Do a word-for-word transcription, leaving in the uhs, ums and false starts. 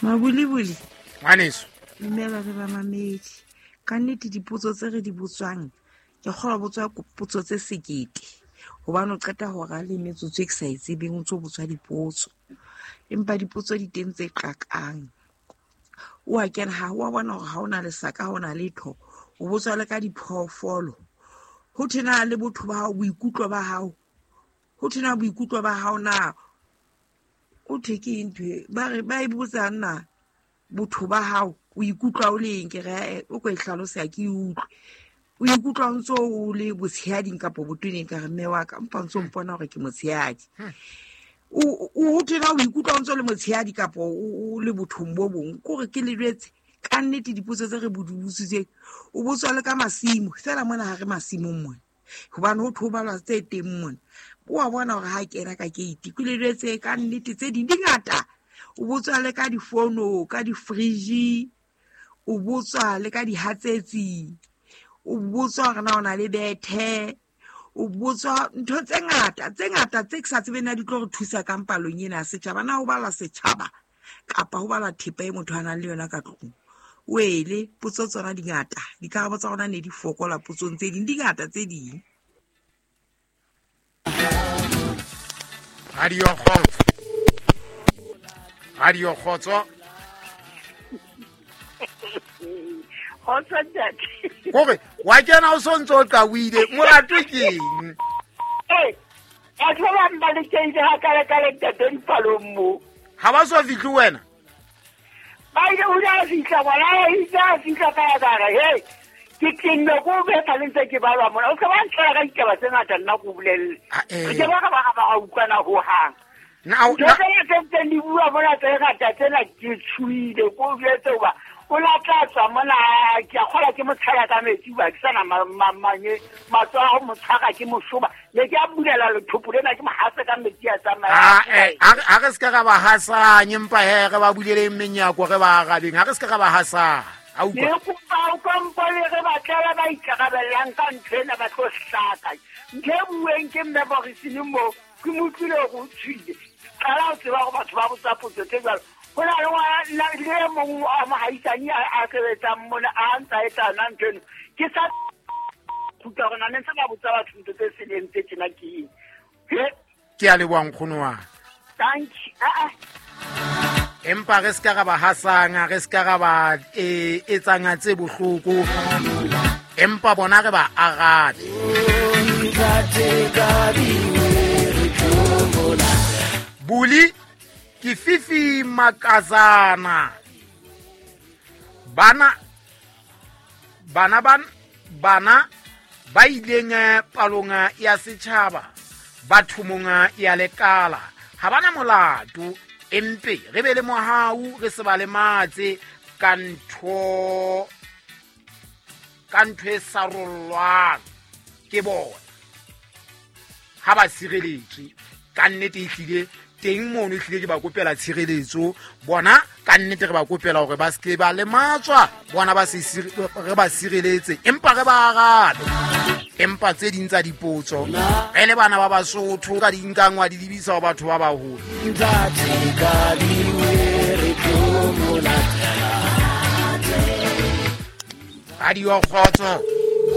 Mabulibuli. Ngwaneso. Dumela re ba mamedi. Ka nnete dipotso tse re di botswang, ke kgolwa botswa potso tse sekete. Hobane o qeta hora le metsotso e ke sa e tsebeng o ntso botswa dipotso. Empa dipotso di teng tse qakang. O a kena ha wa bona hore ha ona lesaka, ha ona letho. O botswa le ka diphoofolo. Ho thena le botho ba hao, boikutlo ba hao. Ho thena boikutlo ba hao na o thwe ke eng ntho e? Ba re ba e botsa nna botho ba hao, o ikutlwa o le eng? Ke re o ko e hlalosa ke utlwe. O ikutlwa o ntso o le botshehading kapa botoneng? Ka re mme wa ka mpa ntso mpona hore ke motshehadi. O o thena o ikutlwa o ntso le motshehadi kapa o le bothong bo bong? Ke hore ke le jwetse ka nnete dipotso tse re botsitseng. O botswa le ka masimo fela mona ha re masimong mona, hobane ho thwe ho balwa tse teng mona. O a bona hore ha kena ka gate ke le jwetse ka nnete tse ding di ngata. O botswa le ka difono, ka di-fridge, o botswa le ka dihatsetsi, o botswa hore na o na le bethe, o botswa ntho tse ngata tse ngata tse ke sa tsebeng na di tlo re thusa ka mpalong ena ya setjhaba. Na ho balwa setjhaba kapa ho balwa thepa e motho a nang le yona ka tlung? Wele potso tsona di ngata, dikarabo tsa rona ne di fokola potsong tse ding, di ngata tse ding. Radio Kgotso. Radio Kgotso. Kgotso ntate. Hore wa kena o sontso o qawile, molato ke eng? Eh, batho ba bang ba lekeile ha kale kale ntate dipalong mo. Ha ba so fihle wena? Ba ile ho ya fihla ngwana, a itse a fihla ka ya ka re, hey, ke tenne ko betha le ntse ke balwa mona. O se ba ntlela ka ditaba tse ngata nna ko bolelle. Eh. Re ke ba ka ba ba utlwana ho hang. Na Ntho tsena tse ntseng di bua mona tse ngata tsena ke tshohile, ko jwetse hoba o la tla tswa mona, ke a kgolwa ke mo tshela ka metsi hoba ke sana ma-, ma-, manye, matsoho a ho mo tshwara ke moshoba. Ne ke a bulela lethopo lena ke mo hase ka metsi a tsamaya. Ah, eh, ha re, ha re se ka ra ba hasanya, empa he, re ba buleleng menyako, re ba arabeng. Ha re se ka ra ba hasanya. A utlwa? Ne kopa o kompone re ba tlala ba ikarabellang ka ntho ena ba tlo hlaka. Ntho e bueng ke mme Borisini mo, ke mo utlwile hore o tswile. Qala ho tseba hore batho ba botsa potso tse jwalo. Ho na le ngwana, le e mong wa mohaisane a, a sebetsang mona, a ntsa etsa yona ntho eno. Ke sa kgutla hore na ne ntse ba botsa batho ntho tse seleng tse tjena ke eng. He? Ke a leboha nkgono wa ka. Thank you. Ah, ah. Empa re se ka ra ba hasanga, re se ka ra ba, eh, etsanga tse bohloko. Empa bona re ba arabe. Buli ke Fifi Makazana. Bana, bana ban, bana ba ileng, eh, palong ya setjhaba, ba thomong ya lekala. Ha bana molato, empe re be le mohau, re se ba lematse ka ntho, ka ntho e sarollwang ke bona. Ha ba sireletswe, ka nnete ehlile teng mono, ehlile ke ba kopela tshireletso. Bona ka nnete re ba kopela hore ba se ke ba lematswa, bona ba se sire-, re ba sireletse, empa re ba arabe. Empa tse ding tsa dipotso re le bana ba Basotho ka di nkang wa di lebisa ho batho ba baholo. Radio Kgotso.